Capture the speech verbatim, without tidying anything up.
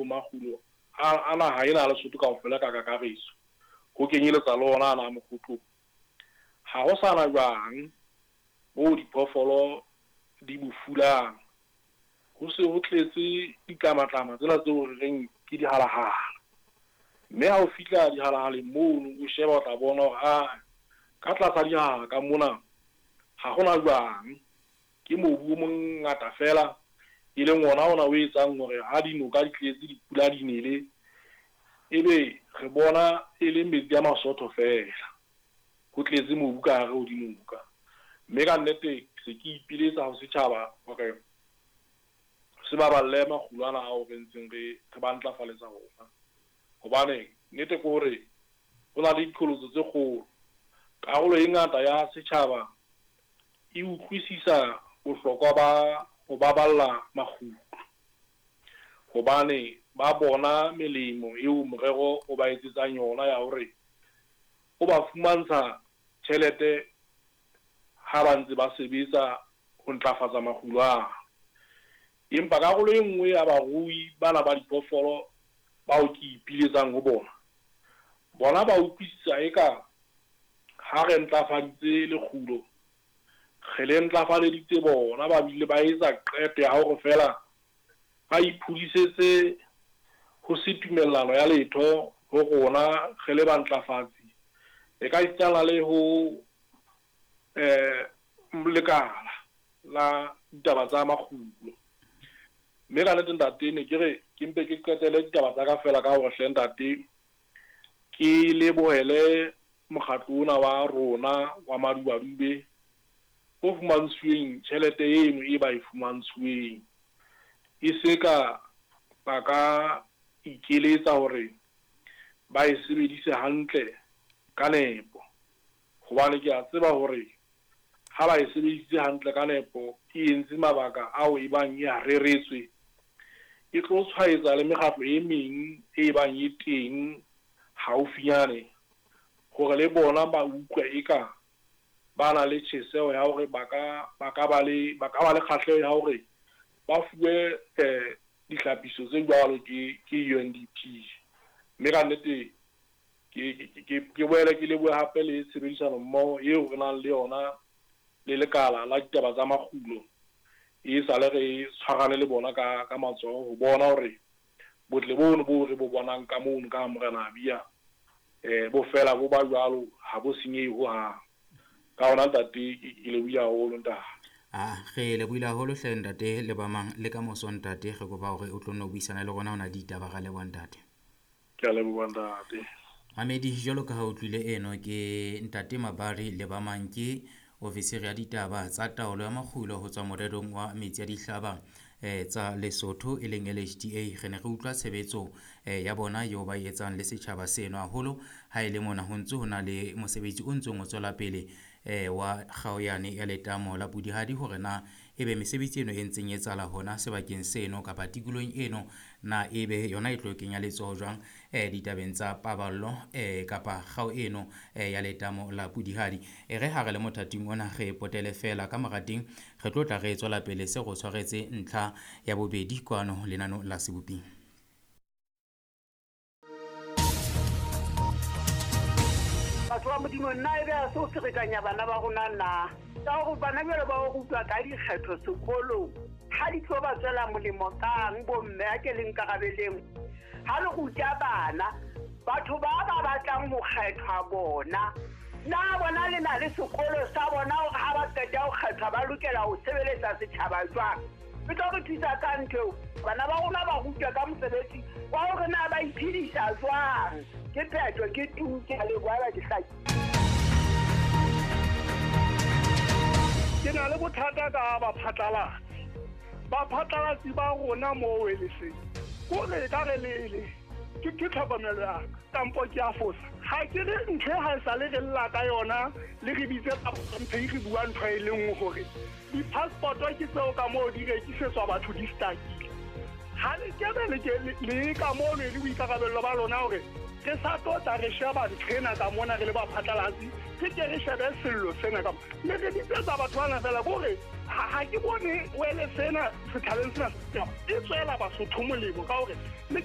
makgulo a naha ena ya Lesotho kaofela ka kakaretso, ho kenyeletsa le ona ana a Mokhotlong, ha ho sa na jwang moo diphoofolo di bo fulang. Ho se ho tletse ditlamatlama tsena tseo re reng ke dihalahala. Mme ha o fihla dihalahaleng mono, o sheba o tla bona hore a ka tlasa dihaha ka mona ha hona jwang, ke mobu o mongata fela, e leng ona ona o etsang hore ha dinoka di tletse dipula di nele, ebe re bona e le metsi a masotho fela, ho tletse mobu ka hare ho dinoka. Mme ka nnete se ke ipiletsa ho setjhaba hore se baballe makgulo ana ao re ntseng re re ba ntlafaletsa ona, hobane nnete ke hore ho na le diqholotso tse kgolo. Karolo e ngata ya setjhaba e utlwisisa bohlokwa ba ho baballa makgulo, hobane ba bona melemo eo morero o ba etsetsang yona ya hore o ba fumantsha tjhelete ha ba ntse ba sebetsa ho ntlafatsa makgulo ana. Empa karolo e nngwe ya barui bana ba diphoofolo bao ke ipiletsang ho bona, bona ba utlwisisa eka ha re ntlafaditse lekgulo, re le ntlafaleditse bona, ba bile ba etsa qeto ya hore feela ba iphudisetse ho se tumellano ya letho ho rona re le bantlafatsi, e ka isitana le ho eh lekala la ditaba tsa makgulo. Mme ka nnete ntate, ne ke re ke mpe ke qetele ditaba tsa ka fela ka hore hle ntate ke lebohele mokgatlo ona wa rona wa Madubadube o fumantshweng tjhelete eno e ba e fumantshweng, e se ka ba ka ikeletsa hore ba e sebedise hantle ka nepo, hobane ke a tseba hore ha ba e sebedisitse hantle ka nepo, e entse mabaka ao e bang e a reretswe, e tlo tshwaetsa le mekgatlo e meng e bang e teng haufinyane hore le bona ba utlwe eka ba na le tjheseho ya hore ba ka ba ka ba le ba ka ba le kgahleho ya hore ba fuwe eh dihlapiso tse jwalo ke ke U N D P. Mme ka nnete ke ke ke boele ke lebohe hape le tshebedisano mmoho eo re nang le yona le lekala la ditaba tsa makgulo, e sale re tshwarane le bona ka ka matsoho ho bona hore botle bono bo re bo bonang ka mono ka Morena Abia eh bo fela bo ba jwalo, ha bo senyehe hohang. Ka hona ntate ke lebohile haholo ntate. Ah, re lebohile haholo hle ntate le ba mang le ka moso ntate, re kopa hore o tlo nno buisana le rona hona ditaba. Ra leboha ntate. Ke a leboha ntate. Mamedi, jwalo ka ha o utlwile eno ke ntate Mabari le ba mang ke ofisiri ya ditaba tsa taolo ya makgulo ho tswa morerong wa metsi a dihlaba eh tsa Lesotho e leng L H D A. Re ne re utlwa tshebetso eh ya bona eo ba e etsang le setjhaba seno haholo ha e le mona ho ntse ho na le mosebetsi o ntseng o tswela pele eh wa kgaoyane ya letamo la Pudihadi, hore na ebe mesebetsi eno e ntseng e etsahala hona sebakeng seno kapa tikolohong eno na ebe yona e tlo kenya letsoho jwang eh ditabeng tsa paballo eh kapa kgao eno eh ya letamo la Pudihadi. E re ha re le mothating ona re potele fela ka morateng, re tlo tla re tswela pele se go tshwaretse ntlha ya bobedi kwano lenano la Seboping. Batho ba Modimo, nna ebe a se o ferekanya bana ba rona na? Ka hore bana jwale ba o rutwa ka dikgetho sekolong, ha di tlo ba tswela molemo kang bomme a ke le nkarabeleng? Ha le ruta bana, batho ba ba batlang ho kgethwa bona, na bona le na le sekolo sa bona hore ha ba qeta ho kgethwa ba lokela ho sebeletsa setjhaba jwang? E tlo re thusa ka ntho eo. Bana ba rona ba rutwa ka mosebetsi wa hore na ba iphedisa jwang. Ke phetho, ke tu, ke a leboha ba ke hlaki. Ke na le bothata ka baphatlalatsi. Baphatlalatsi ba rona moo e le seng. Kore ka re le le ke ke tlhokomelo ya ka, kampo ke a fosa. Ha ke re ntho e ha e sale re lla ka yona, le re bitse ntho e re bua ntho e le nngwe hore di-passport ke tseo ka moo di rekisetswa batho di stakile. Ha le kebe le ke le ka mono e le boikarabello ba lona hore re sa tlo tla re sheba ntho ena ka mona re le baphatlalatsi, re ke re shebe sello sena ka mona. Mme re bitsetsa batho bana fela ke hore ha ke bone wele sena setjhabeng sena e tswela Basotho molemo ka hore le